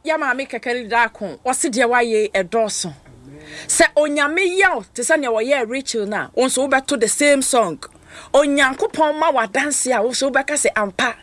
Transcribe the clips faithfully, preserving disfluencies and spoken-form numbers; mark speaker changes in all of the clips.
Speaker 1: Yɛ maame Kɛkɛre Daako, ɔse deɛ wayɛ ɛdɔɔso. Sɛ Onyame yɛ wo te sɛ nea ɔyɛɛ Rachel no a, wo nso wobɛto the same song. Onyankopɔn ma w'adanse a, wo nso wobɛka sɛ ampa,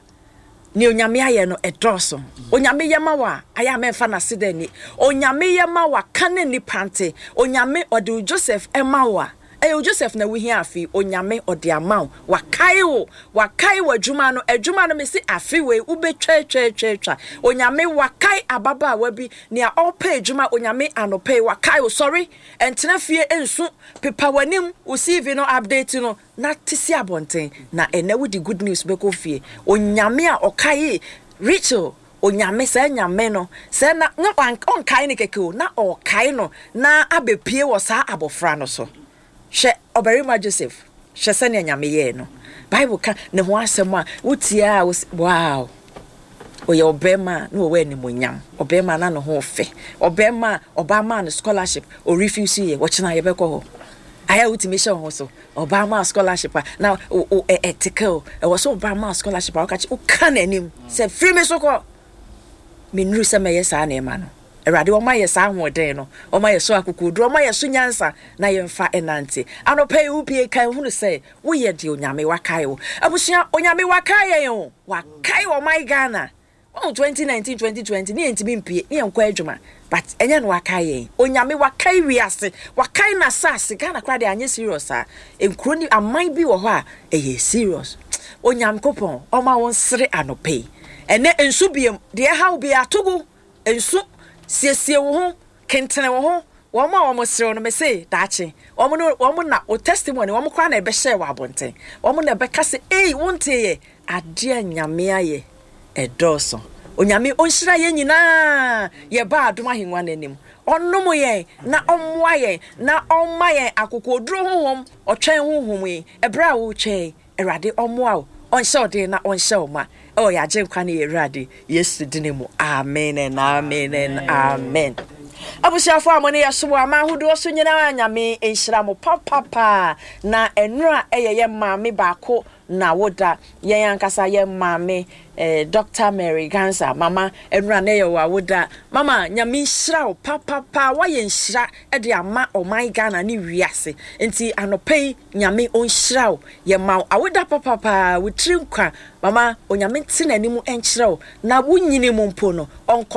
Speaker 1: nea Onyame ayɛ no ɛdɔɔso. Onyame yɛ ma wo a, ayɛ a mɛmfa n'aseda nni. Onyame yɛ ma wo a, ka ne nnipa nte. Onyame ɔde wo Joseph ma wo a, ɛyɛ wo Joseph na wohia afe yi, Onyame ɔde ama wo. Wakae wo, wakae w'adwuma no, adwuma no mese afe wei wobɛtwatwatwatwa. Onyame wakae ababaawa bi, nea ɔrepɛ adwuma, Onyame anɔpa yi wakae wo. Sɔre, ɛntena fie nsu, pepa w'anim, wo C V no update no, na te si abɔnten. Na ɛnɛ wode good news bɛkɔ fie. Onyame a ɔkae Rachel, Onyame saa Nyame no, sɛ na na ɔnkae no kɛkɛ o, na ɔkae no na abɛpie wɔ saa abɔfra no so. Hwɛ ɔbarima Joseph, hwɛ sɛnea Nyame yɛɛ no. Bible ka ne ho asɛm a wotie a, wow, ɔyɛ ɔbarima a na wɔwɔ animonyam, ɔbarima na ne ho fɛ, ɔbarima a ɔbaa maa no scholarship, ɔrefuse yɛ. Wɔkyena yɛbɛkɔ hɔ. Ayɛ a wotumi hyɛ wo ho so, ɔbaa maa scholarship a na ɛteke ɛwɔ sɛ ɔbaa maa scholarship a woka kye woka n'anim sɛ firi me so kɔ, menuru sɛ mɛyɛ saa nneɛma no. Awurade ɔma yɛ saa ahoɔden no, ɔma yɛ so akokoduro, ɔma yɛ so nyansa na yɛmfa ɛnante. Anɔpɛ yi wopie kan hunu sɛ woyɛ deɛ Onyame wakae wo. Abusua, Onyame wakae yɛn o, wakae ɔman Ghana. Wɔn twenty nineteen, twenty twenty ne yɛntumi mpie ne yɛnkɔ adwuma, but ɛnyɛ no wakae yɛn. Onyame wakae wiase, wakae n'asase. Ghana koraa deɛ, anyɛ serious a nkuro ne aman bi wɔ hɔ a ɛyɛ serious. Onyankopɔn ɔma wɔn sere anɔpɛ yi. Ɛnɛ nsu biem deɛ ɛhaw bi atogo nsu, siesie wo ho, kentene wo ho. Wɔn a wɔn serew no, mese daakye wɔn no, wɔn na o testimony wɔn koraa na ɛbɛhyɛ wɔ abɔnten. Wɔn na ɛbɛka sɛ, "Ei, wɔn te yɛ adeɛ a Nyame ayɛ ɛdɔɔso." Onyame ɔnhyira yɛn nyinaa. Yɛba adom ahengua n'anim, ɔnom yɛn na ɔmmoa yɛn na ɔmma yɛn akokoduro honhom, ɔtwɛn honhom yi. Ɛberɛ a wotwɛn, Awurade ɔmmoa wo, ɔnhyɛ ɔden na ɔnhyɛ wo ma ɛwɔ yɛ Agyenkwa ne yɛ Awurade Yesu dini mu. Amen and amen and amen. Abusuafoɔ a mo ne yɛsom wɔ aman ahodoɔ so nyinaa, Nyame nhyira mo papapaa. Na ɛnora ɛyɛ yɛ maame baako na woda yɛn ankasa yɛ maame eh, Doctor Mary Gansa. Mama, ɛnora na ɛyɛ wɔ awoda. Mama, Nyame nhyira wo papapa. Woayɛ nhyira de ama ɔman Ghana ne wiase, nti anɔpa yi Nyame ɔnhyira wo. Yɛma wo awoda papapaa. Wo tiri nkwa, mama. Onyame nte n'anim nkyerɛ wo na wonyini mu mpo no ɔnkɔ.